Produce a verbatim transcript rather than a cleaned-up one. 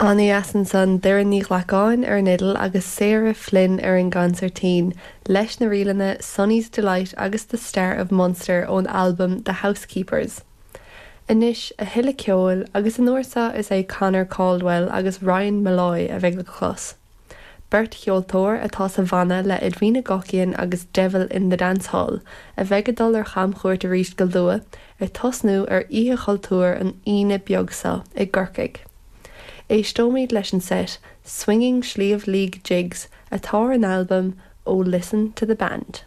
An-dheas ansan Doireann Ní Ghlacáin ar an fhidil agus Sarah Flynn ar an gconsairtín, leis na ríleanna Sonny's Delight agus The Star of Munster ón albam The Housekeepers. Anois a thuilleadh ceoil agus an uair seo is é Conor Caldwell agus Ryan Molloy a bheidh le clos. Beirt cheoltóir atá sa bhanna le Edwina Guckian agus Devil in the Dance Hall, a bheidh ag dul ar chamchuairt arís go luath ag tosnú ar Oíche Chultúir an Aoine beag seo i gCorcaigh. Éisteoimid leis an set Swinging Sliabh Liag Jigs atá ar an albam ó Listen to the Band.